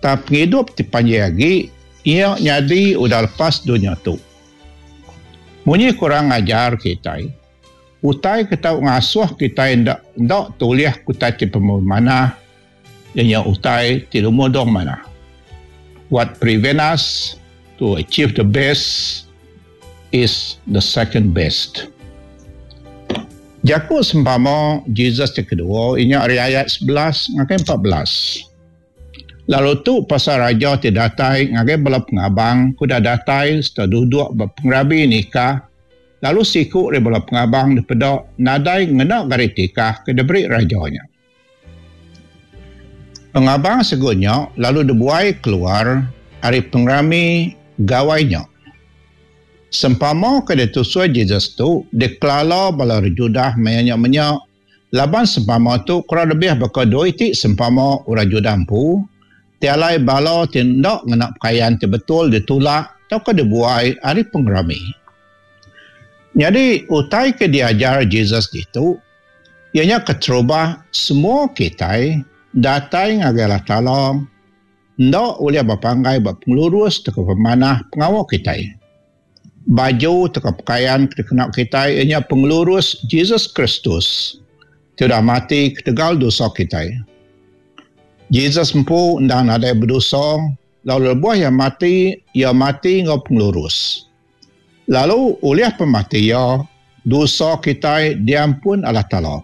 Tang pengidup ti panjai agi iya nyadi udah lepas dunya tu. Munyi ku orang ngajar kitai, utai ke tau ngasuh kitai enda enda tulih ke utai ti pemanah iya nya utai ti lumur dong manah. What prevent us to achieve the best is the second best. Jaku sempama Jesus ti kedua iya nya ari ayat 11 ngagai 14. Lalu tu pasal raja ti datai ngagai bala pengabang ke udah datai sereta duduk ba pengerami nikah, lalu siku ari bala pengabang dipeda nadai ngena gari tikah ke diberi raja nya. Pengabang siku nya lalu dibuai keluar ari pengerami gawai nya. Sempama ke ditusui Jesus tu dikelala bala orang Judah maya nya menya Laban sempama tu kurang lebih baka dua iti sempama orang Judah empu, ti alai bala ti enda ngena pekayan ti betul ditulak tauka dibuai ari pengerami. Nyadi, utai ke diajar Jesus ditu, iya nya keterubah semua kitai datai ngagai Allah Taala enda ulih bepanggai ba pengelurus tauka pemanah pengawa kitai. Baju tauka pekayan ke dikena kitai iya nya pengelurus Jesus Kristus ti udah mati ketegal dosa kitai. Jesus empu endang nadai bedosa lalu lebuh iya mati, iya mati enggau pengelurus. Lalu ulih pemati iya, dosa kitai diampun Allah Taala.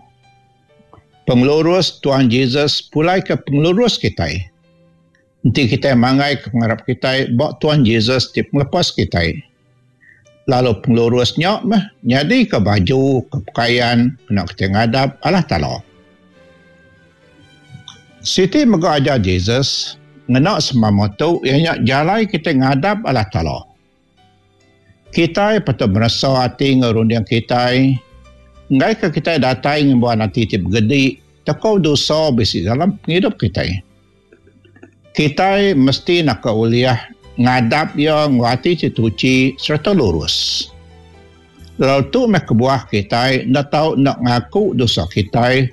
Pengelurus Tuhan Jesus pulaika pengelurus kitai. Enti kitai manggaika pengarap kitai ba Tuan Jesus ti pengelepas kitai, lalu pengelurus nya meh nyadika baju ke pekayan kena kitai ngadap Allah Taala. Siti mega ajar Jesus ngena sempama tu iya nya jalai kitai ngadap Allah Taala. Kitai patut meresa ati enggau runding kitai enggaika kitai datai ngembuan ati ti begedi tauka dosa bisi dalam pengidup kitai. Kitai mesti naka ulih ngadap Iya enggau ati ti tuchi sereta lurus. Lalu tu meh kebuah kitai enda tau enda ngaku dosa kitai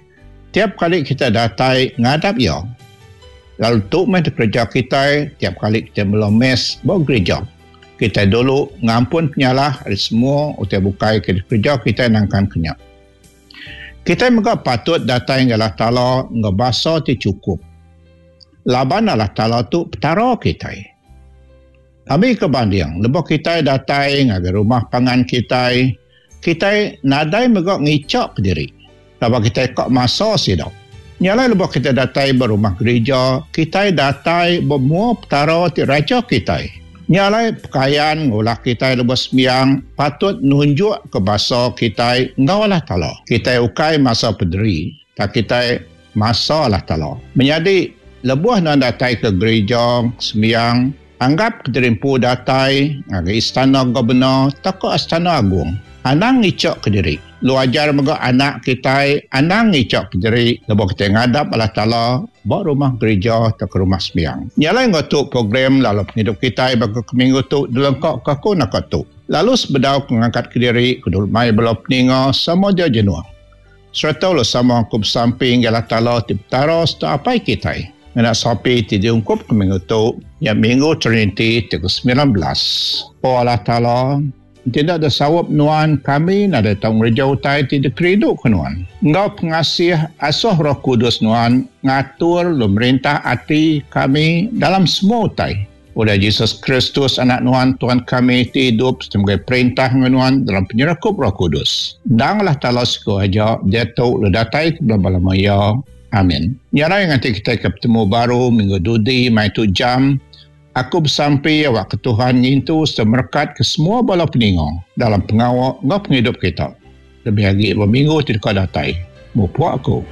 tiap kali kitai datai ngadap Iya. Lalu tu meh dikereja kitai tiap kali kitai mela mes ba gerija. Kitai dulu ngampun penyalah ari semua utai bukai ke dikereja kitai nangkan ke nya. Kitai mega patut datai ngagai Allah Taala enggau basa ti chukup, laban Allah Taala tu Petara kitai. Ambika banding, lebuh kitai datai ngagai rumah pangan kitai, kitai nadai mega ngichaka diri laban kitai ka masa sida. Nya alai lebuh kitai datai ba rumah gerija, kitai datai ba mua Petara ti Raja kitai. Nya alai pekayan ngulah kitai lebuh sembiang patut nunjukka basa kitai enggau Allah Taala. Kitai ukai masa pederi, tang kitai masa Allah Taala. Menyadi, lebuh nuan datai ke gerija sembiang, anggap kediri empu datai ngagai istana gubernur tauka astana agung. Anang ngichaka diri. Lu ajar mega anak kitai anang ngichaka diri lebuh kitai ngadap Allah Taala ba rumah gerija tauka rumah sembiang. Nya alai enggau tu program lalu pengidup kitai baka ke minggu tu dilengkaka aku naka tu. Lalu sebedau ke ngangkat kediri ke dulu mai bala peninga sama dia jenuh sereta lalu sama aku besampi ngagai Allah Taala ti Petara sereta Apai kitai ngena sampi ti diungkupka minggu tu nya Minggu Triniti ti ke 19. O Allah Taala, Enti enda da saup nuan, kami nadai tau ngereja utai ti dikerinduka nuan. Enggau pengasih, asuh Roh Kudus nuan ngatur lalu merintah ati kami dalam semua utai. Ulih Jesus Kristus, Anak nuan, Tuhan kami, ti idup sereta megai perintah enggau nuan dalam penyerakup Roh Kudus. Endang Allah Taala siku aja, diatu lalu datai ke belama-lama iya. Amin. Nya alai nganti kitai ke betemu baru minggu dudi mai tu jam, Aku besampi awakka Tuhan ngintu sereta merekatka semua bala peninga dalam pengawa enggau pengidup kita, lebih agi ba minggu ti deka datai. Mupuk aku.